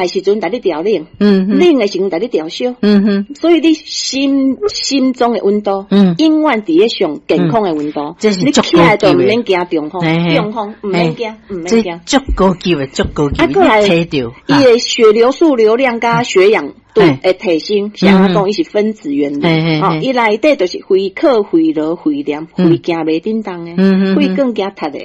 的時陣，共你調冷，冷的時陣共你調燒，所以你心中的溫度，永遠佇咧上健康的溫度。這是你起來就毋免驚中風，中風毋免驚，毋免驚。足高級的，足高級。啊，過來，伊的血流速流量佮血氧度會提升，像按怎講，伊是分子原理。吼，伊內底就是肺咳、肺瘻、肺炎、肺驚袂振動的，肺管驚塞的，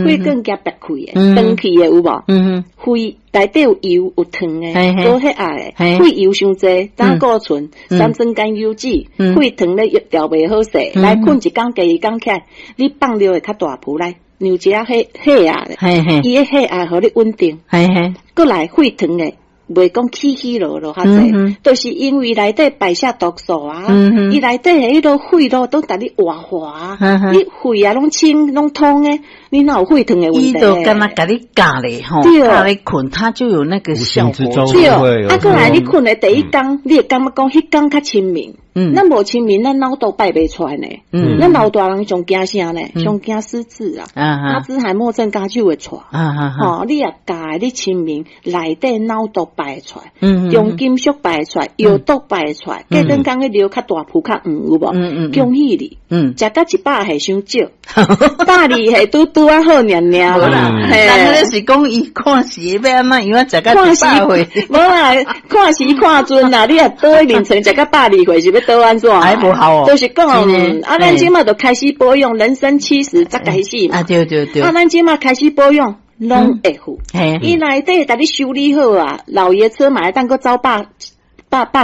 肺管驚憋氣的，斷氣的有無？肺內底有油有糖的，高血壓的，肺油傷濟，膽固醇、三酸甘油酯，血糖咧調袂好勢，來睏一工，第二工起來，你放尿會較大泡來，讓一下血壓咧，伊的血壓予你穩定，閣來血糖的。袂講起起落落較濟，就是因為內底排泄毒素啊，伊內底的彼個血路都共你活化，你血啊攏清攏通的，你哪有血糖的問題？伊就敢若共你教咧吼，教你睏，它就有那個效果。對，啊，閣來你睏的第一工，你會感覺講彼工較清明。咱無清明，咱腦都排袂出來呢。咱老大人上驚啥呢？上驚失智啊！阿茲海默症加手會出。吼，你若教你清明，內底腦毒排出來，重金屬排出來，藥毒排出來，隔頓工彼尿較大泡較黃有無？恭喜你，食到100歲傷少，120歲拄拄仔好爾爾啦。人彼是講伊看時欲按怎樣啊？食到100歲，無啦，看時看陣啦。你若倒佇眠床食到120歲是欲倒按怎？還無效哦。就是講，啊，咱這馬就開始保養，人生70才開始嘛。啊，對對對。啊，咱這馬開始保養，攏會好。伊內底共你修理好啊，老爺車嘛會當閣走百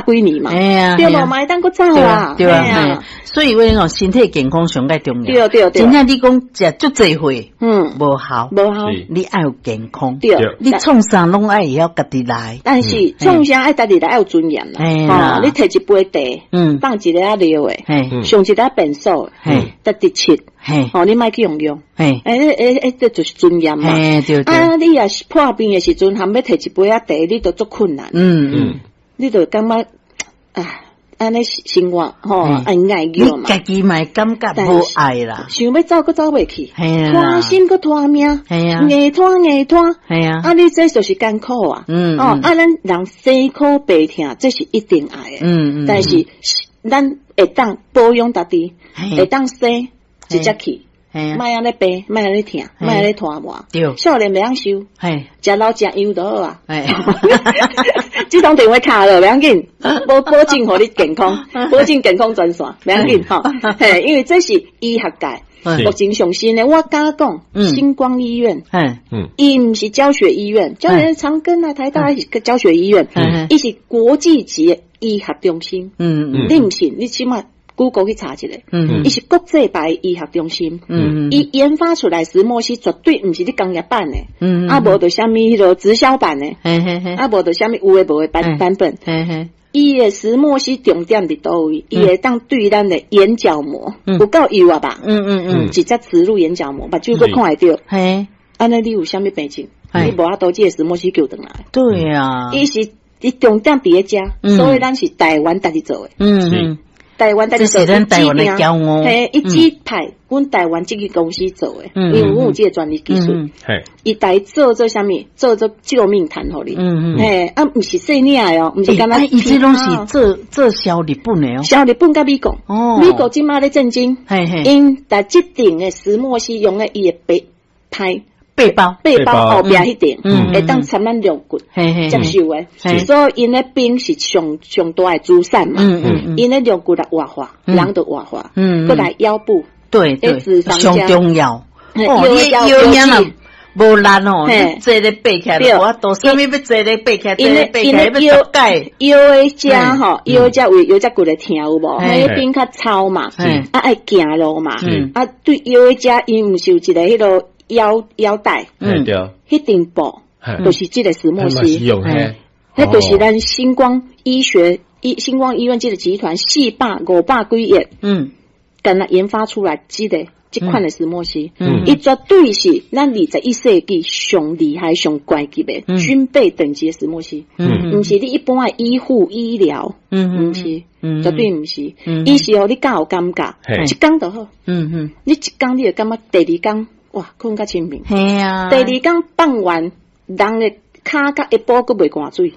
幾年嘛。對無嘛會當閣走啊。對啊。所以話講身體健康上蓋重要。對對對。真正你講食足濟歲，無效，無效。你愛有健康。對。你創啥攏愛會曉家己來。但是創啥愛家己來愛有尊嚴啦。吼，你提一杯茶，放一个仔尿的，上一个便所，得直切，吼，你莫去用用。欸欸欸，這就是尊嚴嘛。啊，你若是破病的時陣，含欲提一杯仔茶，你都足困難。你就感覺啊，按呢生活吼，愛愛叫嘛。你家己嘛會感覺無愛啦，想欲走閣走袂去，拖心閣拖命，硬拖硬拖。啊，你這就是艱苦啊。哦，啊，咱人生苦病痛，這是一定愛的。但是咱會當保養家己，會當生直接去。莫按呢病，莫按呢疼，莫按呢拖磨。少年袂曉瘦，食老食油就好啊。這通電話卡了，袂要緊，保證予你健康，保證健康專線，袂要緊吼。嘿，因為這是醫學界目前上新的，我敢講，新光醫院，伊毋是教學醫院，教學長庚啊、台大是教學醫院，伊是國際級的醫學中心。你毋信，你起碼 Google 去查一下，伊是國際牌醫學中心，伊研發出來石墨烯絕對毋是你工業版的，啊無就啥物彼個直銷版的，啊無就啥物有的無的版本。伊的石墨烯重點佇佗位？伊會當對咱的眼角膜有夠幼啊吧？直接植入眼角膜，目睭閣看會著。按呢你有啥物病症？你無法度這個石墨烯救轉來。對啊，伊是伊重點佇咧遮，所以咱是台灣家己做的。台灣這是咱台灣的驕傲。嘿，伊指派阮台灣這個公司做的，因為阮有這個專利技術。伊來做做啥物？做做救命毯予你。嘿，啊，毋是細領的哦，毋是干焦。伊這攏是做做銷日本的哦。銷日本佮美國。哦。美國這馬咧戰爭。𪜶佇這頂的石墨烯用咧伊的背拍。背包，背包後壁彼頂，會當插咱肋骨接受的，所以𪜶的兵是上上大的資產嘛。𪜶的肋骨來活化，人就活化，閣來腰部，對對，上重要。哦，你腰爾無力哦，你坐咧爬起來，無法度，啥物欲坐咧爬起來，坐咧爬起來欲十擺。腰的遮吼，腰遮位腰脊骨會疼有無？彼邊較糙嘛，啊愛行路嘛，啊對腰的遮，𪜶毋是有一个彼个腰帶，對，彼頂布就是這個石墨烯，彼就是咱新光醫學醫新光醫院這個集團400、500幾億，敢若研發出來這個這款的石墨烯，伊絕對是咱21世紀上厲害、上高級的軍備等級的石墨烯，毋是你一般的醫護醫療，毋是，絕對毋是，伊是予你較有感覺，一工就好，你一工你會感覺第二工，哇，睏較清明。嘿啊！第二工放完，人的跤佮下晡閣袂乾水。